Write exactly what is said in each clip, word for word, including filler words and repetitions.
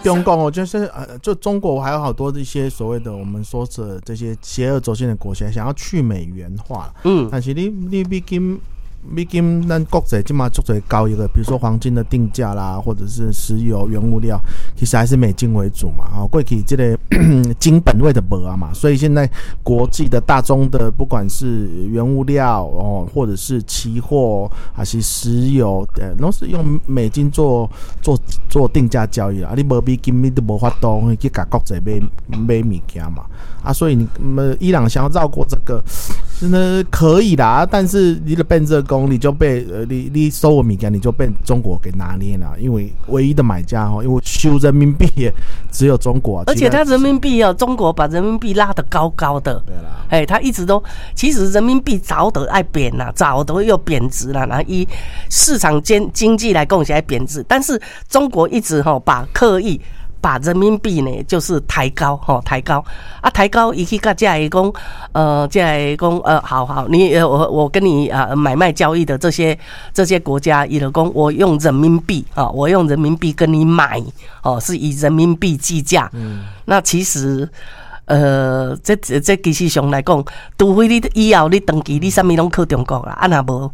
中共哦，就是呃，就中国还有好多一些所谓的我们说的这些邪恶轴心的国家，想要去美元化。嗯，但是你你美金美金，咱國際這馬足濟交易的，比如說黃金的定價啦，或者是石油原物料，其實還是美金為主嘛。哦，過去這個金本位的無啊嘛，所以現在國際的大宗的，不管是原物料哦，或者是期貨，還是石油，呃，攏是用美金做做做定價交易啊。你無美金，你都無法度去共國際買買物件嘛。啊，所以你們伊朗想要繞過這個，真的可以啦，但是你的變這工，你就被呃，你你收我物件，你就被中國給拿捏了，因為唯一的買家哦，因為收人民幣也只有中國，而且他人民幣哦，中國把人民幣拉得高高的，對啦，哎，他一直都其實人民幣早都愛貶啦，早都又貶值了，然後以市場經經濟來講起來貶值，但是中國一直吼把刻意把人民幣呢，就是抬高，吼，抬高啊，抬高，伊去共遮个講，呃，遮个講，呃，好好，你我我跟你啊買賣交易的這些這些國家，伊就講，我用人民幣啊，我用人民幣跟你買，哦，是以人民幣計價。嗯，那其實，呃，這這其實上來講，除非你以後你長期你啥物攏靠中國啦，啊若無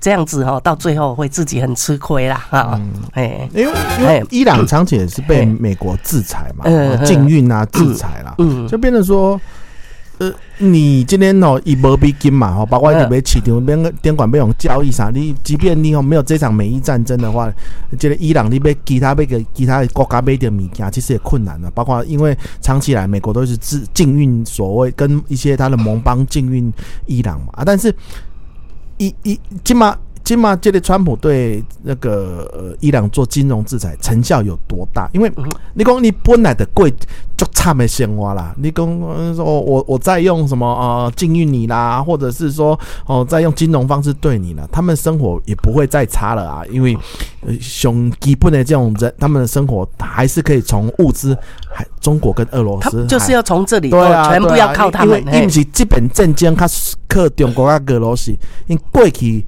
這樣子哈，到最後會自己很吃虧啦，哈，哎，因為因為伊朗長期也是被美國制裁嘛，禁運啊，制裁啦，就變成說，呃，你今天哦，伊無美金嘛，吼，包括你欲市場邊監管欲用交易啥，你即便你哦沒有這場美伊戰爭的話，這個伊朗你欲其他欲共其他國家買著物件，其實也困難了。包括因為長期來美國都是制禁運所謂跟一些他的盟邦禁運伊朗嘛，啊，但是伊伊這馬這馬這個川普對那個呃伊朗做金融制裁成效有多大？因為你講你本來就過足慘的生活啦，你講說我我在用什麼呃禁運你啦，或者是說哦在用金融方式對你了，他們生活也不會再差了啊，因為上基本的這種人，他們的生活還是可以從物資，還中國跟俄羅斯，就是要從這裡，對啊，全部要靠他們，因為伊毋是這邊戰爭較靠中國佮俄羅斯，因為過去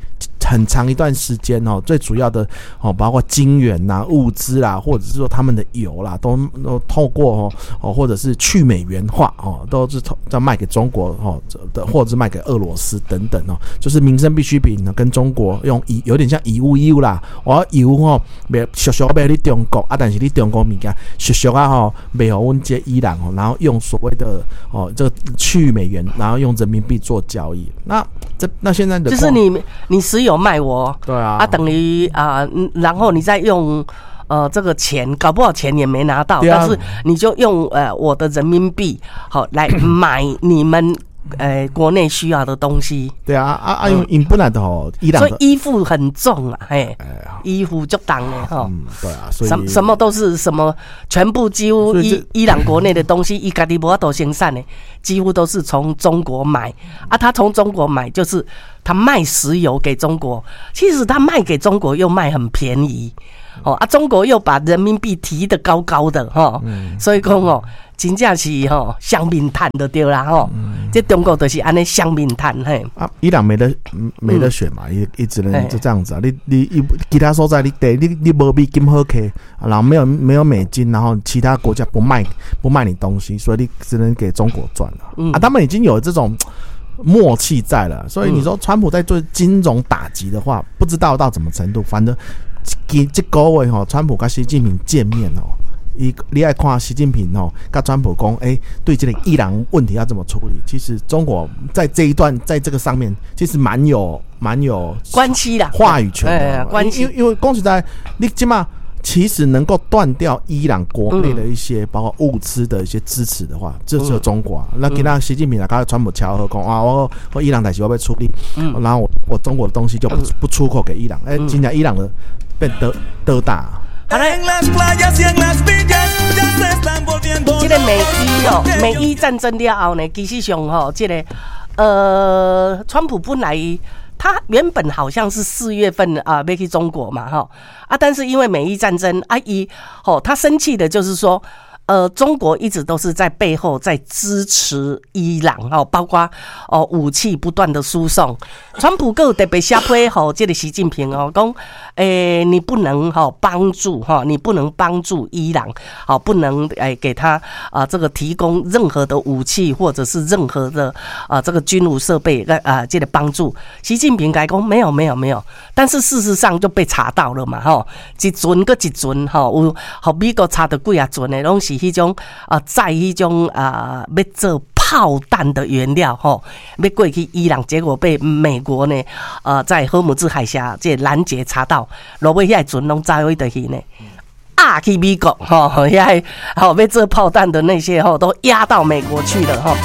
很長一段時間哦，最主要的哦，包括金元呐、物資啦，或者是說他們的油啦，都都透過哦哦，或者是去美元化哦，都是在賣給中國哦的，或者是賣給俄羅斯等等哦，就是民生必需品呢，跟中國用以有點像以物易物啦，我油吼賣俗俗賣予你中國啊，但是你中國物件俗俗啊吼賣予阮這伊朗哦，然後用所謂的哦這個去美元，然後用人民幣做交易，那這那現在的就是你你石油賣我，對啊，啊等於啊，然後你再用呃這個錢，搞不好錢也沒拿到，但是你就用呃我的人民幣好來買你們呃國內需要的東西。對啊啊啊！因為𪜶本來就吼，伊朗所以依附很重啊，嘿，依附足重的吼。嗯，對啊，所以什什麼都是什麼，全部幾乎伊伊朗國內的東西，伊家己無法度生產的，幾乎都是從中國買啊。他從中國買，就是他賣石油給中國，其實他賣給中國又賣很便宜，哦啊，中國又把人民幣提得高高的，吼，所以講哦，真正是吼雙面趁就對啦吼，這中國就是按呢雙面趁嘿。啊，伊朗沒得沒得選嘛，伊伊只能就這樣子啊。你你伊其他所在你得你你無美金好揢，然後沒有沒有美金，然後其他國家不賣不賣你東西，所以你只能給中國賺了。啊，他們已經有這種默契在了，所以你說川普在做金融打擊的話，不知道到什麼程度。反正這這個月吼，川普佮習近平見面哦。伊你愛看習近平哦，佮川普講，欸，對這個伊朗問題要怎麼處理？其實中國在這一段，在這個上面，其實蠻有蠻有關係的話語權的。關係，因為因為講實在，你這馬其實能夠斷掉伊朗國內的一些包括物資的一些支持的話，這只有中國。那今仔習近平來佮川普敲好講啊，我我伊朗代誌我欲處理，然後我我中國的東西就不不出口給伊朗。欸，今天伊朗的變得得大。好嘞，這個美伊哦，美伊戰爭了後呢，其實上吼，這個呃，川普本來他原本好像是四月份啊，欲去中國嘛，吼啊，但是因為美伊戰爭啊，伊吼他生氣的就是說，呃，中國一直都是在背後在支持伊朗哦，包括哦武器不斷的輸送。川普閣有特別寫批予這個習近平哦，講，欸，你不能哈幫助哈，你不能幫助伊朗，好，不能欸給他啊這個提供任何的武器或者是任何的啊這個軍武設備啊這個幫助。習近平共伊講沒有沒有沒有，但是事實上就被查到了嘛，吼，一船閣一船吼，有予美國查著幾仔船的，攏是彼種啊，載彼種啊，欲做炮彈的原料吼，欲過去伊朗，結果被美國呢，呃，在荷姆茲海峽這攔截查到，落尾遐船攏走佗去呢，押去美國吼，遐吼欲做炮彈的那些吼，都押到美國去了吼。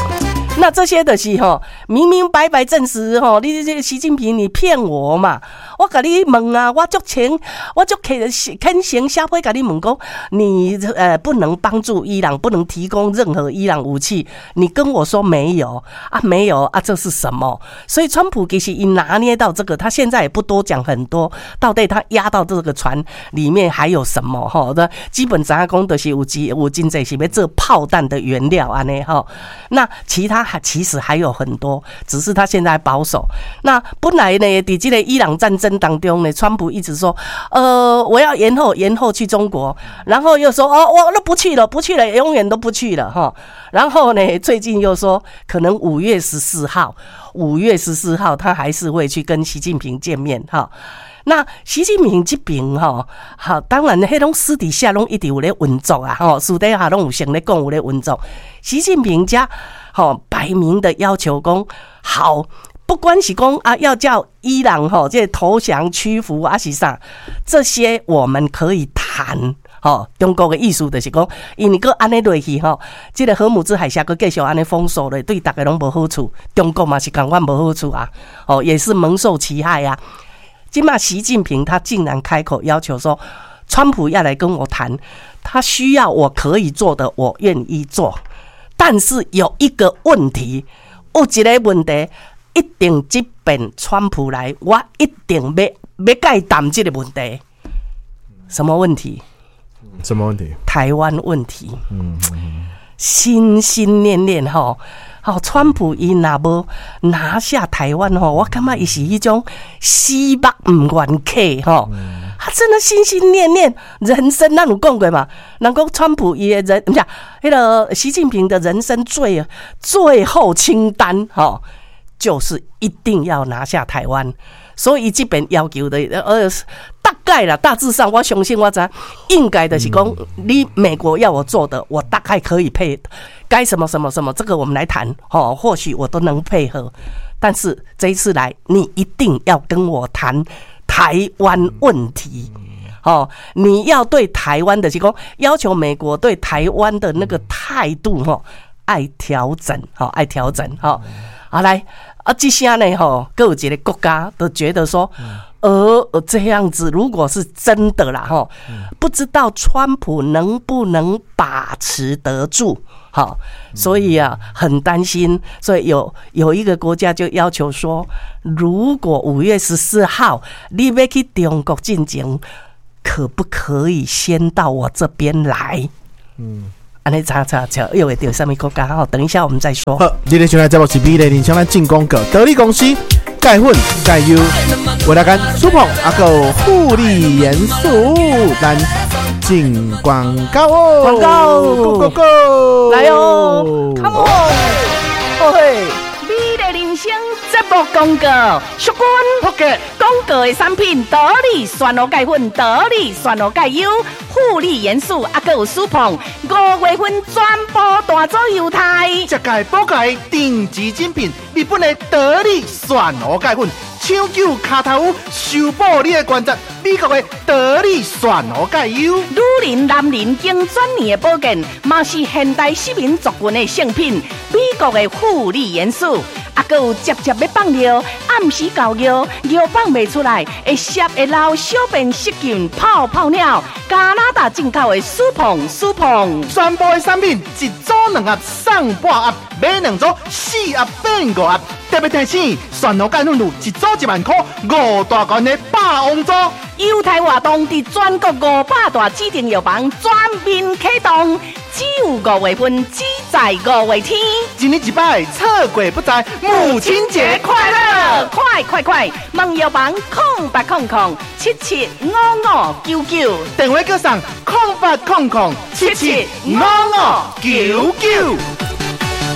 那這些的是吼，明明白白證實吼，你這個習近平你騙我嘛？我共你問啊，我足誠，我足虔虔誠寫批共你問講，你呃不能幫助伊朗，不能提供任何伊朗武器，你跟我說沒有啊，沒有啊，這是什麼？所以川普其實伊拿捏到這個，他現在也不多講很多，到底他押到這個船裡面還有什麼？吼，那基本上講就是有有真濟是欲做炮彈的原料按呢吼，那其他還其實還有很多，只是他現在保守。那本來呢，佇這個伊朗戰爭當中呢，川普一直說，呃，我要延後，延後去中國，然後又說，哦，我都不去了，不去了，永遠都不去了，哈。然後呢，最近又說，可能五月十四號，五月十四號他還是會去跟習近平見面，哈。那習近平這邊吼，好，當然，彼攏私底下攏一直有咧運作啊，吼，私底下攏有先咧講有咧運作。習近平遮吼擺明的要求講，好，不管是講啊，要叫伊朗吼這投降屈服啊是啥，這些我們可以談。吼，中國的意思就是講，因為閣按呢落去吼，這個荷姆茲海峽閣繼續按呢封鎖咧，對逐家攏無好處，中國嘛是仝款無好處啊，哦，也是蒙受其害啊。這馬習近平他竟然開口要求說，川普要來跟我談，他需要我可以做的，我願意做，但是有一個問題，有一個問題，一定這邊川普來，我一定欲欲共伊談這個問題。什麼問題？什麼問題？台灣問題。嗯，心心念念吼。好，川普伊若無拿下台灣吼，我感覺伊是彼種死目毋願瞌吼，他真的心心念念，人生咱有講過嘛？人講川普伊的人，毋是彼個習近平的人生最最後清單吼，就是一定要拿下台灣，所以這邊要求的，呃，大概啦，大致上我相信我知，應該就是講，你美國要我做的，我大概可以配。該什麼什麼什麼，這個我們來談，吼，或許我都能配合。但是這一次來，你一定要跟我談台灣問題，哦，你要對台灣的這個要求，美國對台灣的那個態度，吼，愛調整，吼，愛調整，吼。好來，啊，這下呢，吼，閣有一個國家都覺得說，呃，這樣子如果是真的啦，吼，不知道川普能不能把持得住。好，所以啊，很擔心，所以有有一個國家就要求說，如果五月十四號你欲去中國進前，可不可以先到我這邊來？嗯，按呢查查查，又會著啥物國家？好，等一下我們再說。好，今日上來節目是美麗人生咱進廣告，得力公司鈣粉鈣優，為了跟蘇鵬阿個護理元素，咱進廣告哦，廣告，Go Go Go，來哦，Come on，哦嘿，美麗人生節目廣告，淑君福嘅廣告的產品，得力酸蘆鈣粉，得力酸蘆鈣優，護理元素，啊，閣有舒胖，五月份全部大組猶太，這屆寶蓋頂級精品，日本的得力蒜蘆鈣粉，搶救跤頭趺，修補你的關節，美國的得力蒜蘆鈣優，女人、男人經轉年的保健，嘛是現代市民族群的聖品，美國的護理元素。啊，閣有捷捷欲放尿，暗時猴尿，尿放袂出來，會澀會流，小便失禁，泡泡尿，加拿大進口的舒膨舒膨。全部的產品一組兩盒送半盒，買兩組四盒變五盒。特別提醒，蒜頭鈣粉露一組一萬箍，五大罐的霸王組。優待活動佇全國五百大指定藥房全面啟動，只有五月份，只在五月天。一年一擺，錯過不再，母親節快樂！快快快！問藥房空八空空七七五五九九，電話閣送空八空空七七五五九九。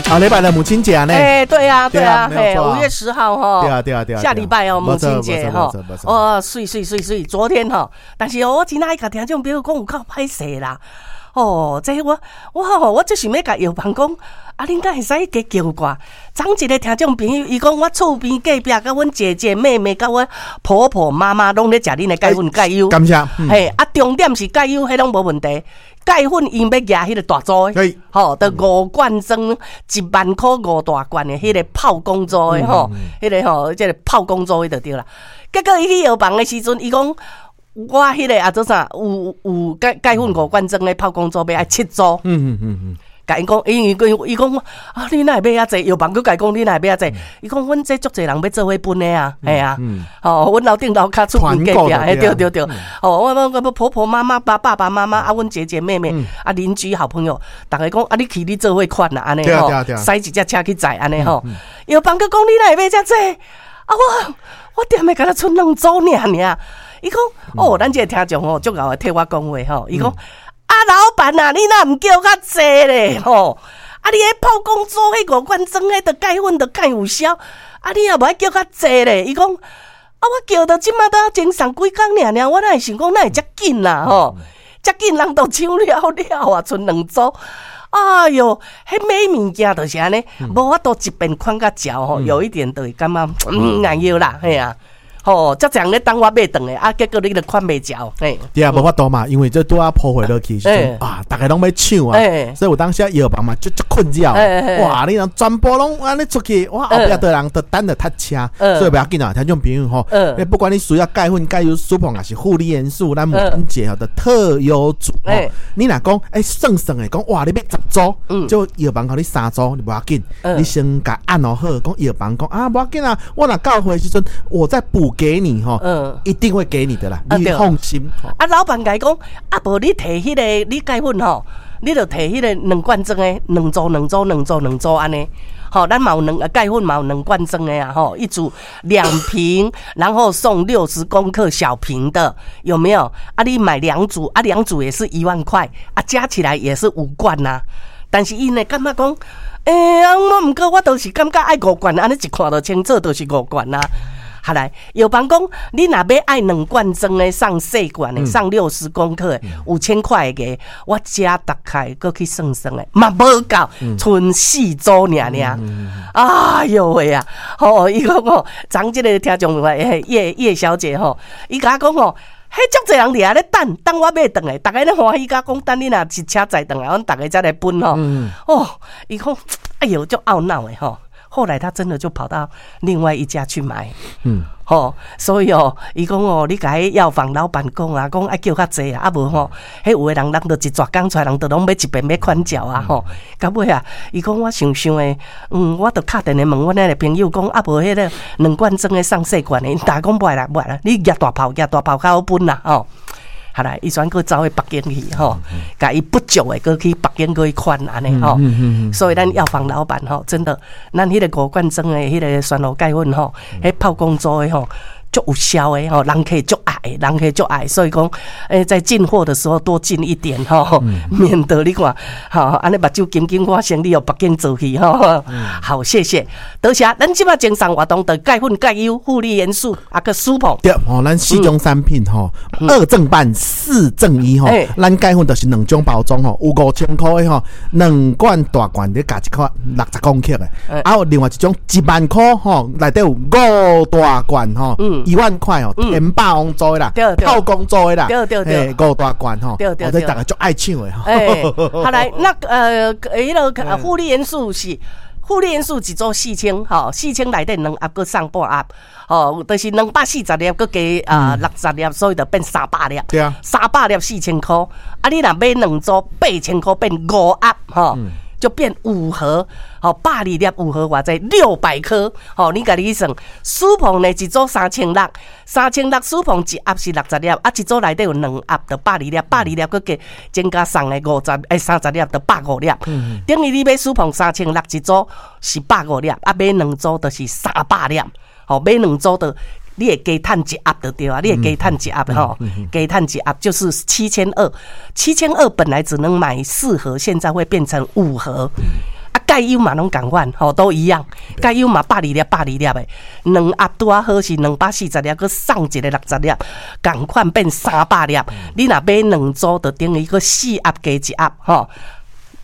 啊，禮拜的母親節啊，呢？哎，對啊，對啊，嘿，五月十號哈，對啊，對啊，對啊，下禮拜哦，母親節哈，哦，媠媠媠媠，昨天哈，但是我真愛共聽眾朋友講有夠歹勢啦，哦，這我我吼，我就是欲共藥房講，啊，恁敢會使加叫掛？昨一个聽眾朋友，伊講我厝邊隔壁，佮阮姐姐、妹妹，佮阮婆婆媽媽，攏咧食恁的鈣粉鈣優，感謝，嘿，啊，重點是鈣優，彼攏無問題。鈣粉𪜶欲舉彼个大組的，吼，著五罐裝一萬箍五大罐的彼个炮公組的吼，彼个吼，這个炮公組的就對啦。結果伊去藥房的時陣，伊講我彼个啊做啥有有鈣鈣粉五罐裝的炮公組欲愛七組。嗯嗯嗯嗯。共𪜶講，因為伊伊講啊，你哪會買遐濟？藥房閣共伊講，你哪會買遐濟？伊講，阮這足濟人欲做伙分的啊，嘿啊，吼，阮樓頂樓跤厝邊隔壁，嘿，對對對，吼，我我我婆婆媽媽、爸爸爸媽媽啊，阮姐姐妹妹啊，鄰居好朋友，逐家講啊，你去你做伙款啦，按呢吼，駛一隻車去載按呢吼。藥房閣講，你哪會買遮濟？啊，我我踮的敢若賰兩組爾爾。伊講，哦，咱這个聽眾吼，足𠢕的替我講話吼，伊講。啊，老闆啊，你若毋叫較濟咧吼？啊，你彼炮公組彼五罐裝，彼著鈣粉著較有效。啊，你也無愛叫較濟咧？伊講，啊，我叫到這馬都前送幾工爾爾，我哪會想講哪會遮緊啦吼？遮緊人都搶了了啊，賰兩組。哎喲，彼買物件就是按呢，無法度一遍款甲嚼吼，有一點就會感覺嗯難要啦，嘿啊。吼，遮濟人咧等我買轉來，啊，結果你著款袂著，嘿。對啊，無法度嘛，因為這拄仔鋪貨落去時陣啊，逐家攏欲搶啊，所以有當時藥房嘛，足足困擾。哇，你人全部攏按呢出去，哇，後壁的人都等著塞車，所以袂要緊啊，聽眾朋友吼，不管你需要鈣粉、鈣優、舒膨，抑是護理元素，咱母親節吼的特優組，你若講欸算算的講，哇，你欲十組，就藥房予你三組，你無要緊，你先共按好，講藥房講啊，無要緊啊，我若到貨的時陣，我再補給你吼，嗯，一定會給你的啦，你放心。啊，老闆共伊講，啊，無你提彼個，你鈣粉吼，你就提彼個兩罐裝的，兩組兩組兩組兩組按呢。吼，咱嘛有兩鈣粉嘛有兩罐裝的啊，吼，一組兩瓶，然後送六十公克小瓶的，有沒有？啊，你買兩組，啊，兩組也是一萬塊，啊，加起來也是五罐呐。但是𪜶會感覺講，欸，啊，我毋過我都是感覺愛五罐，按呢一看就清楚，就是五罐啊。後來藥房講，你若欲愛兩罐裝的送細罐的，送六十公克的，五千塊的，我加大概閣去算算的，嘛無夠，賰四組爾爾。哎喲喂啊！吼，伊講吼，昨這个聽眾葉葉小姐吼，伊共我講吼，彼足濟人佇遐咧等，等我買轉來，逐家咧歡喜甲講，等你若一車載轉來，阮逐家才來分吼。哦，伊講，哎喲，足懊惱的吼。後來他真的就跑到另外一家去買，嗯，吼，所以哦，伊講哦，你共彼藥房老闆講啊，講愛叫較濟啊，啊無吼，彼有的人人就一逝工出來，人就攏欲一遍欲款食啊，吼，到尾啊，伊講我想想的，嗯，我就敲電話問阮彼个朋友講，啊無彼个兩罐裝的送細罐的，𪜶逐家講無愛啦，無愛啦，你舉大炮，舉大炮較好分啦，吼。後來，伊轉閣走去北京去吼，共伊不足的閣去北京閣去款按呢吼。所以咱藥房老闆吼，真的，咱彼个五罐裝的彼个酸蘆鈣粉吼，彼炮公組的吼，足有效的吼，人客足愛，人客足愛，所以講，欸，在進貨的時候多進一點吼，免得你看，吼，按呢目睭金金，我生理予北京做去吼。好，謝謝，多謝。咱這擺贈送活動，就鈣粉、鈣優、護理元素，啊閣舒膨。對，吼，咱四種產品吼，二贈半，四贈一吼。咱鈣粉就是兩種包裝吼，有五千箍的吼，兩罐大罐你加一塊六十公克的，啊，有另外一種一萬箍吼，內底有五大罐吼。一萬塊哦，天霸王做的啦，炮公做的啦，對對對，五大罐吼，對對對，逐家足愛搶的。欸，後來那呃，彼个護理元素是。富麗元素一組四千，吼，四千內底兩盒閣送半盒，吼，就是兩百四十粒，閣加啊六十粒，所以就變三百粒。對啊，三百粒四千箍，啊，你若買兩組八千箍變五盒，吼，就變五盒，吼，百二粒五盒偌濟，六百顆，吼，你家己去算。舒膨呢一組三千六，三千六舒膨一盒是六十粒，啊，一組內底有兩盒，就百二粒，百二粒閣加增加送的五十，欸，三十粒就百五粒。等於你買舒膨三千六一組是百五粒，啊，買兩組就是三百粒，吼，買兩組就你會加趁一盒就對啊，你會加趁一盒吼，加趁一盒就是七千二，七千二本來只能買四盒，現在會變成五盒。啊，蓋優嘛攏仝款，吼，都一樣。蓋優嘛百二粒，百二粒的，兩盒拄仔好是兩百四十粒，閣送一个六十粒，仝款變三百粒。你若買兩組，就等於閣四盒加一盒，吼。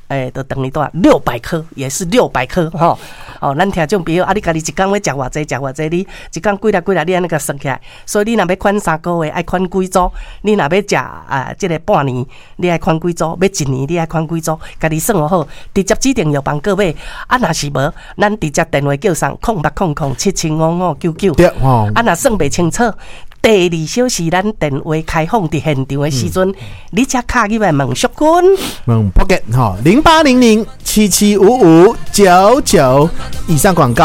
欸，就等於多少？六百顆，也是六百顆，吼。哦，咱聽眾朋友，啊，你家己一工欲食偌濟，食偌濟，你一工幾粒幾粒，你按呢共算起來。所以你若欲款三個月，愛款幾組？你若欲食啊，這个半年，你愛款幾組？欲一年，你愛款幾組？家己算好，直接指定藥房購買。啊，若是無，咱直接電話叫送空八空空七七五五九九。對，吼。啊，若算袂清楚，第二小時咱電話開放佇現場的時陣，你才敲入來問淑君，問 Pocket 吼，零八零零七七五五九九。以上廣告。